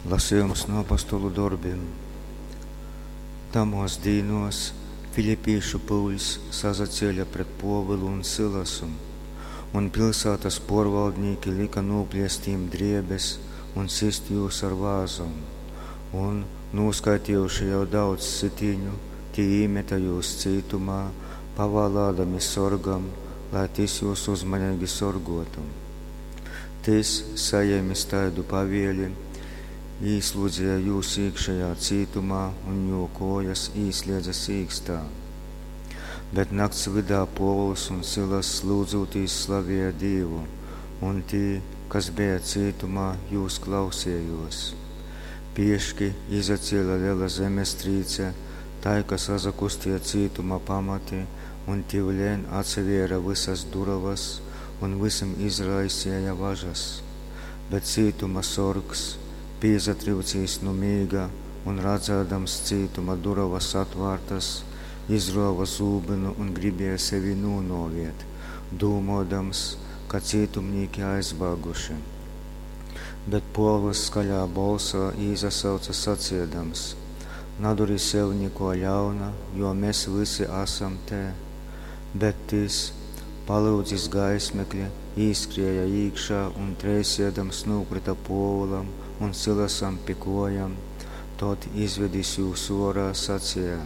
Lasejums nu Apostolu dorbim. Tamōs dīnōs filipīšu pyuļs sasacēle pret Pōvulu un Sylasu, un pilsātas pōrvaldnīki lyka nūpliest jim drēbes un sist jūs ar vāzom. Un, nūskaitejuši jau daudz sitīņu, tī īmete jūs cītumā, pavālādami sorgam, lai tys jūs uzmaneigi sorgōtu. Tys, sajēmis taidu pavēli, īslūdzeja jūs īkšejā cītumā un jū kōjas īslēdze sīkstā. Bet nakts vydā Pōvuls un Sylass lyudzūtīs slavēja Dīvu, un tī, kas beja cītumā, jūs klausejōs. Pieški izacēle lela zemestrīce, tai ka sasakusteja cītuma pamati un tiuleņ atsavēre vysas durovas un vysim izraiseja važas. Bet cītuma sorgs, pīsatryucīs nu mīga un radzādams cītuma durovas atvārtas, izrōva zūbynu un gribēja sevi nūnōvēt, dūmōdams, ka cītumnīki aizbāguši. Bet Pōvuls skaļā bolsā īsasauce saceidams, Nadori sev nikō ļauna, jo mes vysi asam te. Bet tys, palyudzis gaismekli, īskrēja īkšā un treisēdams nūkryta Pōvulam un Sylasam pi kōjom, tod, izvedis jūs ōrā, saceja,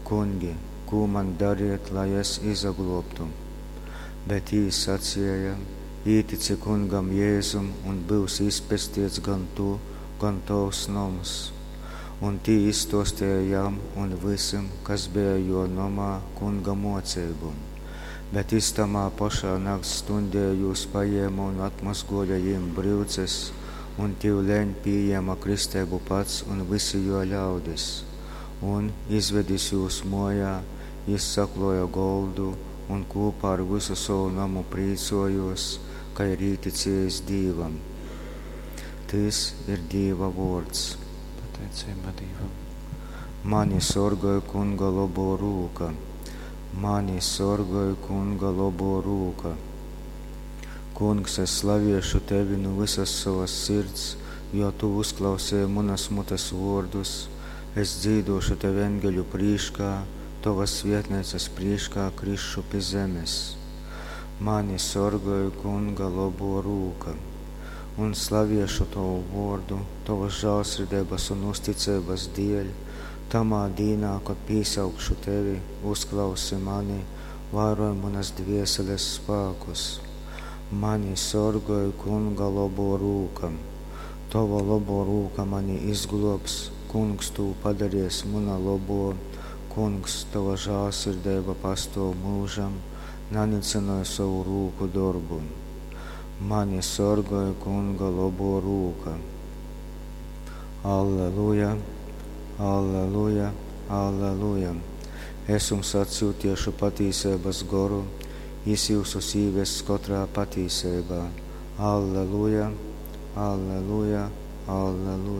Kungi, kū man dariet, lai es izaglōbtu? Bet jī saceja, Ītici Kungam Jezum un byusi izpesteits gan tu, gan tovs noms. Un tī izstōsteja jam un vysim, kas beja jō nomā, Kunga mōceibu. Bet jys tamā pošā nakts stuņdē jūs pajēme un atmozgōja jim bryuces, un tyuleņ pījēme kristeibu pats un vysi jō ļaudis. Un, izvedis jūs mōjā, jys saklōja goldu un kūpā ar vysu sovu nomu prīcōjōs, ka ir īticējis Dīvam. Tys ir Dīva vōrds. Pateiceiba Dīvam. Mani sorgoj Kunga lobō rūka. Mani sorgoj Kunga lobō rūka. Kungs, es slaviešu tevi nu vysas sovas sirds, jo tu uzklausēji munas mutes vōrdus. Es dzīdōšu tev engeļu prīškā, tovas svētneicas prīškā krisšu pi zemes. Mani sorgoj Kunga lobō rūka. Un slaviešu tovu vōrdu, tovas žālsirdeibas un uzticeibas dēļ, tamā dīnā, kod pīsaukšu tevi, uzklausi mani, vairoj munas dvēseles spākus. Mani sorgoj Kunga lobō rūka. Tova lobō rūka mani izglōbs, Kungs tū padareis muna lobō, Kungs, tova žālsirdeiba pastōv myužam, nanycynoj sovu rūku dorbu. Mani sorgoj Kunga lobō rūka. Alleluja, alleluja, alleluja. Es jums atsyutiešu patīseibas goru, jis jyusus īvess kotrā patīseibā. Alleluja, alleluja, alleluja.